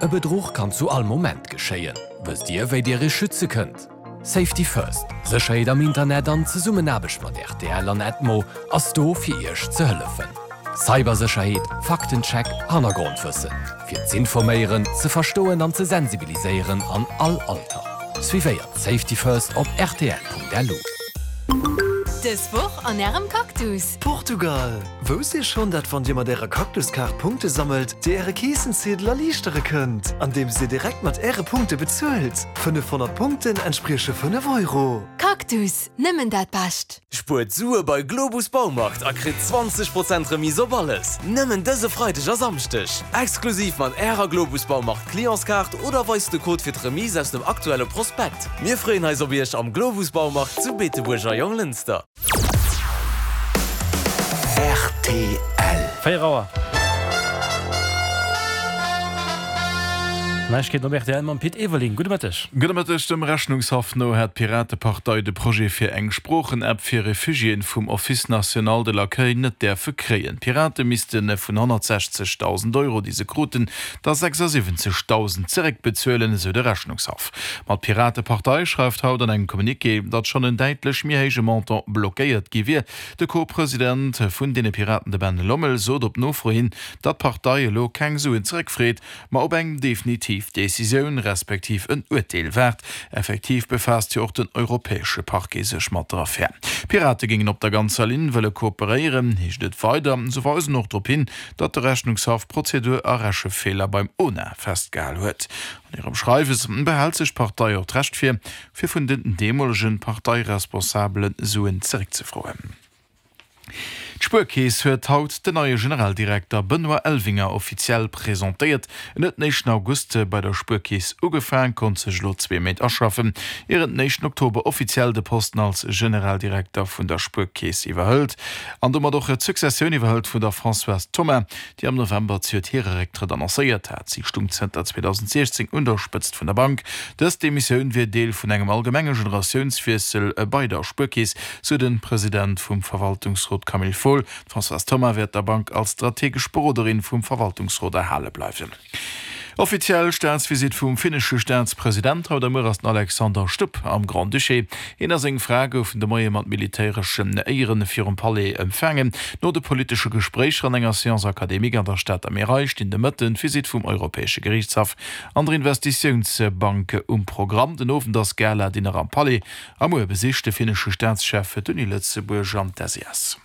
E Bedruch kann zu all Moment geschéien. Wësst Dir, wéi Dir Iech schütze kënnt? Safety First, Sécherheet am Internet an Zesummenaarbecht mat rtl an Edmo ass do fir Iech ze hëllefen. Cybersécherheet, Faktencheck, Hannergrondwëssen. Fir z'informéieren, ze verstoen an ze sensibiliséieren an all Alter. Suivéiert Safety First op rtl.lu. Dës Woch an Ärem Cactus! Portugal! Wousst Dir schonn, dat wann Dir mat Ärer Cactuskaart Punkte sammelt, Dir Äre Keessenziedel erliichtere kënnt, andeems Dir direkt mat Äre Punkte bezuelt? 500 Punkten entsprieche 5 Euro. Cactus, nëmmen dat Bescht! Spuert Sue bei Globus Baumarkt a kritt 20 Prozent Remise op alles! Nëmmen dëse Freideg a Samschdeg! Exklusiv mat Ärer Globus Baumarkt Clientskaart oder weist de Code fir d'Remise aus dem aktuelle Prospekt. Mir freeën eis op Iech am Globus Baumarkt zu Beetebuerg a Jonglënster. Rtl. 4 Auer. Neiegkeeten op rtl mam Pit Everling. Gudde Mëtteg. Gudde Mëtteg. Dem Rechnungshaff no hätt d'Piratepartei de Projet fir eng Sproochen-App fir Refugiéen vum Office national de l'accueil net däerfe kréien. D'Pirate misste vun 160.000 Euro, déi se kruten, der 76.000 zeréckbezuelen, esou de Rechnungshaff. Ma d'Piratepartei schreift haut an engem Communiqué, datt schonn en däitlech méi héije Montant blockéiert gi wier. De Co-President vun deene Piraten, de Ben Lommel, sot op Nofro hin, datt d'Partei elo keng Suen zeréckfreet, ma op eng definitiv Decisioun, respektiv en Urteel waart. Effektiv befaasst jo och den europäesche Parquet sech mat der Affär. D'Pirate géingen op der ganzer Linn wëlle kooperéieren, heescht et weider. Se weisen och drop hin, datt de Rechnungshaff Prozedur a Rechefeeler beim ONA festgehal huet. An hirem Schreiwes behält sech d'Partei och d'Recht vir, fir vun den deemolege Parteiresponsabele Suen zeréckzefroen. D'Spuerkeess huet haut den neie Generaldirekter Benoît Elvinger offiziell presentéiert. En huet den éischten August bei der Spuerkeess ugefaang, konnt sech elo zwee Méint aschaffen, ier en den éischten Oktober offiziell de Posten als Generaldirekter vun der Spuerkeess iwwerhëlt an domat och d'Successioun iwwerhëlt vun der Françoise Thoma, déi am November zejoert hire Récktrëtt annoncéiert hat. Si stung zënter 2016 un der Spëtzt vun der Bank. Dës Demissioun wier Deel vun engem allgemenge Generatiounswiessel bei der Spuerkeess, sou de President vum Verwaltungsrot Camille Fohl. D'Françoise Thoma wäert der Bank als strategesch Beroderin vum Verwaltungsrot erhale bleiwen. Offiziell Staatsvisitt vum finnesche Staatspresident. Haut a muer ass den Alexander Stubb am Grand-Duché. Hien a seng Fra goufen de Moie mat militäreschen Éieren virum Palais empfaangen. No de politesche Gespréicher an enger Séance académique an der Stater Märei stinn de Mëtten d'Visitt vum Europäesche Geriichtshaff an der Investitiounsbank um Programm. Den Owend ass Gala-Dinner am Palais a muer besicht de finnesche Staatschef d'Uni Lëtzebuerg an d'SES.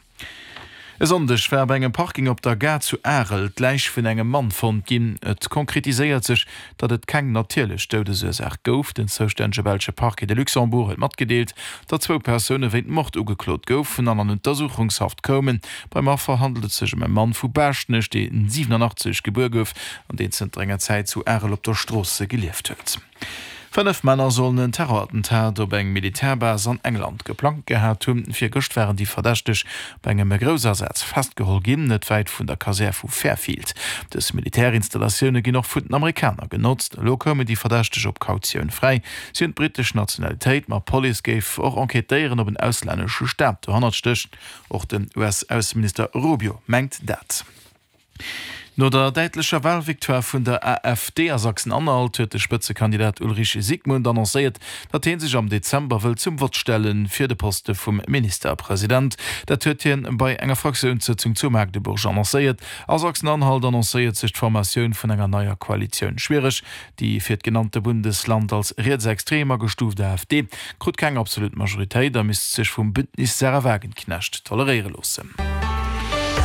E Sonndeg war bei engem Parking op der Gare zu Arel d'Läich vun engem Mann fonnt ginn. Et konkretiséiert sech, datt et keng natierlech Doudesursaach gouf. Den zoustännege belsche Parquet de Luxembourg huet matgedeelt, datt zwou Persoune wéint Mord ugeklot goufen an an Untersuchungshaft koumen. Beim Affer handelt et sech ëm e Mann vu Baaschtnech, dee 87 gebuer gouf an deen zënter enger Zäit zu Arel op der Strooss gelieft huet. 5 Männer sollen en Terrorattentat op eng Militärbase an England geplangt gehat hunn. Virgëscht waren déi Verdächteg bei engem Groussasaz festgeholl ginn, net wäit vun der Kasär vu Fairfield. Dës Militärinstallatioune ginn och vun den Amerikaner genotzt. Elo koumen déi Verdächteg op Kautioun fräi. Si hunn d'brittesch Nationalitéit, ma d'Police géif och enquêtéieren, ob en auslännesche Staat dohannert stécht. Och den US-Ausseminister Rubio mengt dat. No der däitlecher Walvictoire vun der AfD a Sachsen-Anhalt huet de Spëtzekandidat Ulrich Siegmund annoncéiert, datt hie sech am Dezember wëll zum Vott stelle fir de Poste vum Ministerpresident. Dat huet hien bei enger Fraktiounssëtzung zu Magdeburg annoncéiert. A Sachsen-Anhalt annoncéiert sech d'Formatioun vun enger neier Koalitioun schwiereg. Déi fir d'genannte Bundesland als rietsextrem agestuuft AfD krut keng absolut Majoritéit a misst sech vum Bündnis Sarah Wagenknecht toleréiere loossen.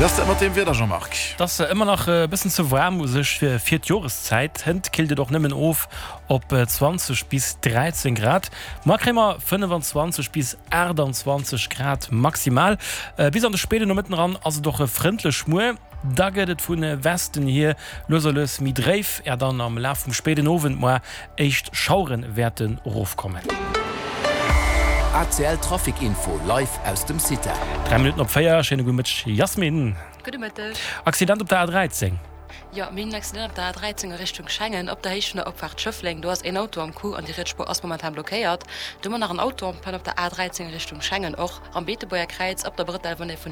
Wéi ass dat mat dem Wieder, Jean-Marc? Et ass ëmmer nach e bëssen ze waarm u sech fir d'Joreszäit. Hënt killt et och nëmmen of op 20 bis 13 Grad. Muer kréie mer 25 bis 28 Grad maximal. Bis an de spéiden Nomëtten eran ass et och frëndlech. Muer Da gëtt et vu Westen hier lues a lues méi dréif, är dann am Laf vum spéiden Owend moar éischt Schauere wäerten erofkommen. ACL Trafic Info live aus dem CITA. 3 Minutten op 4, schéine gudde Mëtteg Yasmine. Gudde Mëtteg. Accident op der A13. Jo, mir hunn en Accident op der A13 a Richtung Schengen, op der Héicht vun der Opfaart Schëffleng. Do ass een Auto am Coup an déi riets Spuer ass momentan blockéiert. Do hu mer nach en Auto en panne op der A13 a Richtung Schengen, och am Beetebuerger Kräiz op der Brëtell, wann ee vun der.